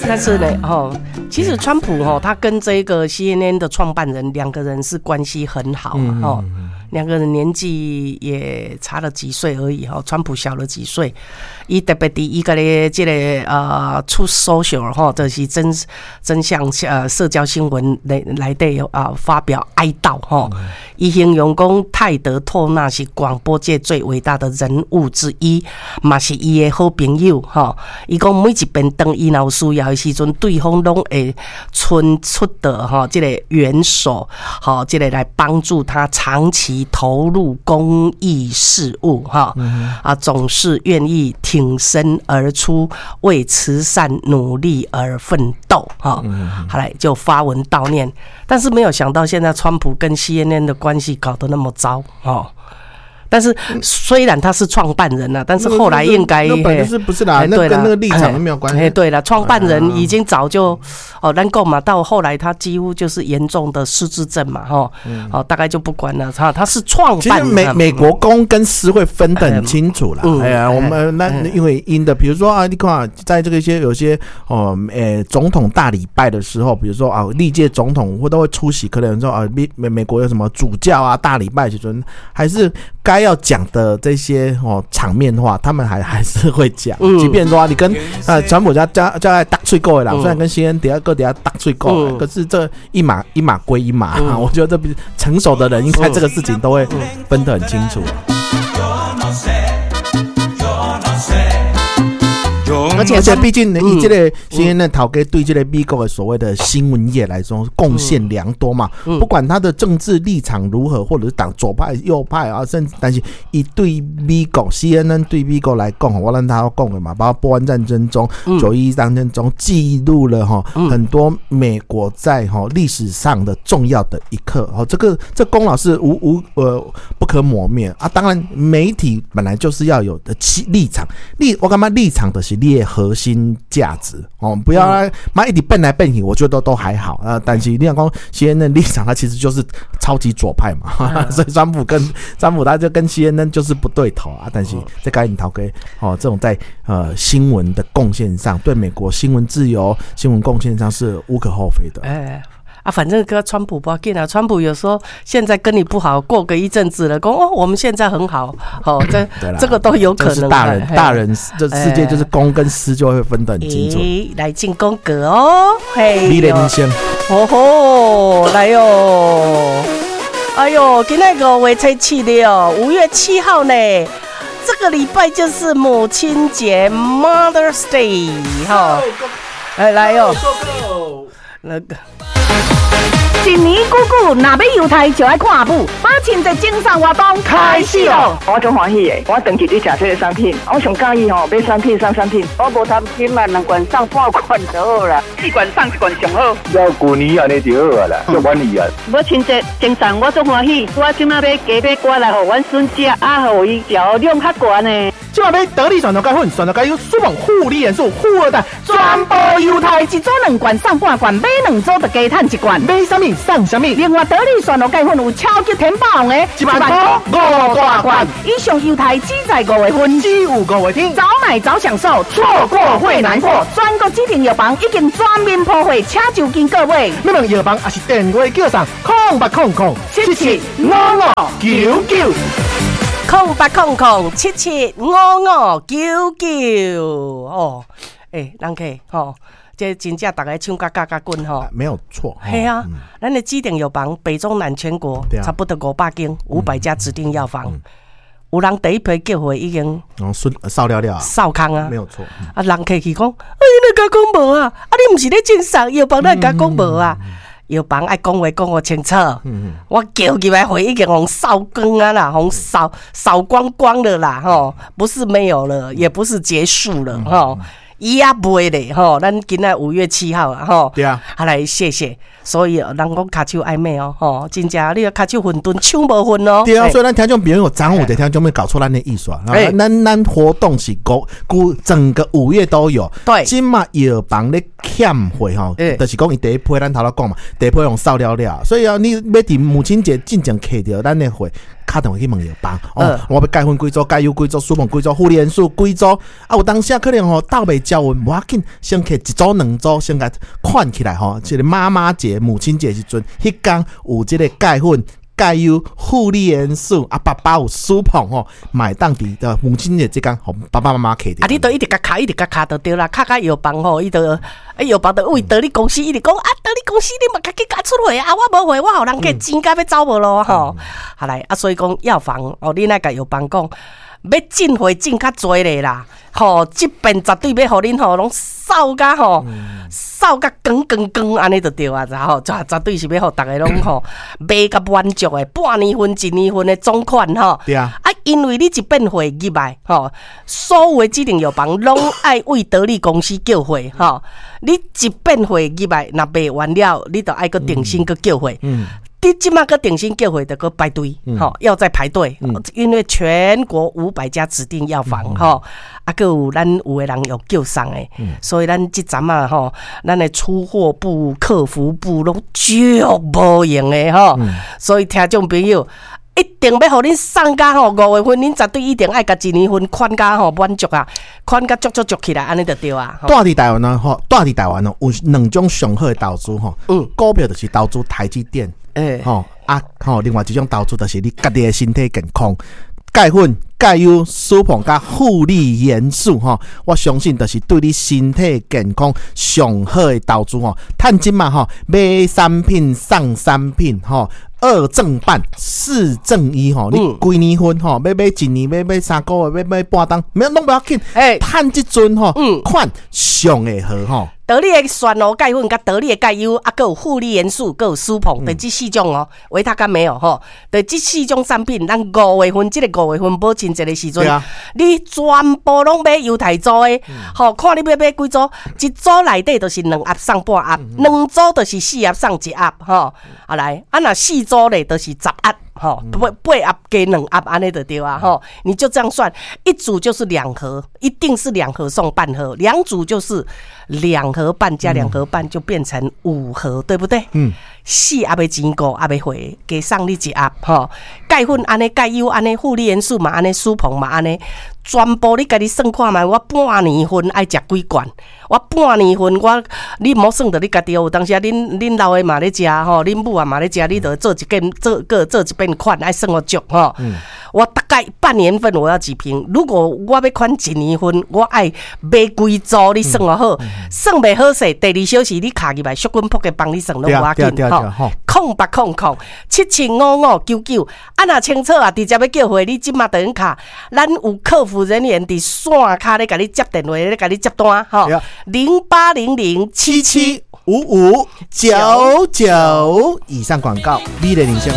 但是呢，哦，其實川普哦，他跟這個 CNN 的創辦人兩個人是關係很好哦，兩個人年紀也差了幾歲而已哈，川普小了幾歲。伊特別佇伊個咧這個Truth Social 吼，就是真相社交新聞內底啊發表哀悼吼，伊形容講泰德托納是廣播界最偉大的人物之一，嘛是伊的好朋友吼。伊講每一遍當伊若有需要的時陣，對方攏會伸出的吼這個援手，吼這個來幫助他長期投入公益事務哈，啊總是願意挺身而出，為慈善努力而奮鬥哈。後來就發文悼念，但是沒有想到現在川普跟 CNN 的關係搞得那麼糟哦。但是雖然他是創辦人了，但是後來應該那本就是不是啦，那跟那個立場都沒有關係。哎，對了，創辦人已經早就哦，咱講嘛，到後來他幾乎就是嚴重的失智症嘛，哈，哦，大概就不管了。他是創辦人。其實美國公跟私會分得很清楚了。哎呀，我們那因為因的，比如說啊，你看，在這個一些有些哦，誒，總統大禮拜的時候，比如說啊，歷屆總統會都會出席，可能說啊，美國有什麼主教啊大禮拜時陣，還是該要講的這些哦場面話，他們還是會講。即便說你跟川普家在打喙鼓的啦，雖然跟 CNN 底下各底下打喙鼓，可是這一碼一碼歸一碼。我覺得這比成熟的人應該這個事情都會分得很清楚。而且，畢竟你這個 CNN 頭家對這個美國的所謂的新聞業來說貢獻良多嘛。不管他的政治立場如何，或者是黨左派、右派啊，甚至但是伊對美國 CNN 對美國來講，我讓他講的嘛，包括波灣戰爭中、9.11戰爭中記錄了哈很多美國在哈歷史上的重要的一刻。哦，這功勞是無無呃不可磨滅啊。當然，媒體本來就是要有的立場，我感覺立場的是你的核心價值哦，不要媽一直變來變去，我覺得都還好啊。但是你講 CNN 立場，他其實就是超級左派嘛，所以川普他就跟 CNN 就是不對頭啊。但是這該𪜶頭家哦，這種在新聞的貢獻上，對美國新聞自由、新聞貢獻上是無可厚非的。哎啊，反正跟川普不要緊啊。川普有時候現在跟你不好，過個一陣子了，講哦，我們現在很好，好，這個都有可能。大人，大人這世界就是公跟私就會分得很清楚。來進廣告哦，嘿，你連先，哦吼，來喲，哎呦，今仔5月7了，5月7號呢，這個禮拜就是母親節（Mother's Day）哈，哎，來喲，那個。一年久久，若欲猶太就愛看阿母。母親節贈送活動開始咯！我足歡喜的，我長期佇食這个產品，我上佮意吼買產品送產品。我無貪心啊，兩罐送半罐就好啦，四罐送一罐上好。要舊年按呢就好啊啦，足滿意啊。母親節贈送我足歡喜，我這馬買雞買瓜來予阮孫食，啊，予伊食量較懸呢。這馬買得力蒜頭鈣粉、蒜頭鈣油、舒夢護理元素、富二代，全部猶太一組兩罐送半罐，買兩組就加趁一罐。買啥物送啥物。另外得力蒜頭鈣粉有超級填飽王的，1萬塊五大罐。以上猶太只在5月份，只有5月天，早買早享受，錯過會難過。全國指定藥房已經全面鋪貨，請就近購買。欲問藥房抑是電話叫送0800775599。 0800775599哦，欸，人客吼，這真正逐个搶甲甲甲緊吼，沒有錯。係啊，咱的指定藥房北中南全國差不多500間，500家指定藥房，有人第一批叫貨已經哦，掃了了，掃空啊，沒有錯。啊，人客去講，哎，你共講無啊？啊，你毋是咧贈送藥房，你共講無啊？藥房愛講話講予清楚，我叫入來貨已經予掃光啊啦，予掃光光了啦，吼，不是沒有了，也不是結束了，吼。伊也袂咧，吼，咱今仔5月7號啊，吼，對啊，啊來謝謝，所以人講跤手愛罵哦，吼，真正你跤手混沌搶無份哦。對啊，所以咱聽眾朋友昨有的聽眾沒搞錯咱的意思啊，咱活動是個整個5月都有，對，這馬藥房咧欠貨吼，就是講伊第一批咱頭拄講嘛，第一批予掃了了，所以啊，你欲佇母親節進前揢著咱的貨。敲電話去問藥房，哦，我欲鈣粉幾組，鈣油幾組，舒膨幾組，護理元素幾組，啊，有當時可能吼鬥袂焦勻，無要緊，先摕一組兩組，先共款起來吼。這個媽媽節、母親節時陣，彼工有這個鈣粉、鈣油、護理元素，啊，爸爸有舒膨吼，嘛會當佇的母親節這工，予爸爸媽媽摕著。啊，你都一直共敲，一直共敲就對啦，敲甲藥房吼，伊就啊藥房就為得你公司一直講啊，得你公司你嘛家己共出貨啊，我無貨，我予人客錢甲欲走無咯吼。好來啊，所以講藥房哦，你若共藥房講欲進貨進較濟咧啦，吼，這遍絕對欲予恁吼攏掃甲吼，掃甲光光光按呢就對啊，吼，絕對是欲予逐家攏吼賣甲滿足的，半年份、一年份的總款吼。對啊。啊，因為你一遍貨入來吼，所有的指定藥房攏愛為得利公司叫貨吼。你一遍貨入來，若賣完了，你就愛閣重新閣叫貨。你這馬閣重新叫貨，就閣排隊，吼，要再排隊，因為全國500家指定藥房，吼，啊，閣有咱有的人有叫送的，所以咱這陣仔吼，咱的出貨部、客服部攏足無閒的吼，所以聽眾朋友一定欲予恁送甲吼，5月份恁絕對一定愛共一年份款甲吼滿足啊，款甲足足足起來，按呢就對啊。蹛佇台灣呢，吼，蹛佇台灣哦，有兩種上好的投資吼，股票就是投資台積電。吼啊吼！另外一種投資就是你家己的身體健康，鈣粉、鈣油、舒膨佮護理元素吼，我相信就是對你身體健康上好的投資吼。趁錢嘛吼，買三品送三品吼，二贈半四贈一吼。你幾年份吼，欲買一年，欲買3個月，欲買半冬，咩攏無要緊。趁這陣吼，款上會好吼。得力的酸蘆鈣粉，佮得力的鈣油，啊，閣有護理元素，閣有舒膨，就這四種哦，維他較沒有吼。就這四種產品，咱五月份這個五月份母親節的時陣，你全部攏買猶太組的，吼，看你欲買幾組，一組內底就是兩盒送半盒，兩組就是4盒送1盒，吼，啊來，啊若四組咧就是10盒。吼，八盒加2盒，按呢就對啊，吼，你就這樣算，一組就是2盒，一定是2盒送半盒，兩組就是2盒半加2盒半，就變成5盒，對不對？4盒的錢5盒的貨，加送你1盒，吼，鈣粉按呢，鈣油按呢，護理元素嘛按呢，舒膨嘛按呢，全部你家己算看覓，我半年份愛食幾罐，我半年份我你莫算著你家己哦，有當時啊，恁老的嘛咧食吼，恁母啊嘛咧食，你著做一件做閣做一遍款，愛算予足吼。我大概半年份我要幾瓶，如果我欲款一年份，我愛買幾組，你算予好，算袂好勢，第二小時你敲入來，小滾撲個幫你算攏無要緊吼。0800 7755 99，啊若清楚啊，直接欲叫貨，你這馬就用敲，咱有客服人員佇線跤咧共你接電話，咧共你接單吼。0800 7755 99，以上廣告，美麗人生。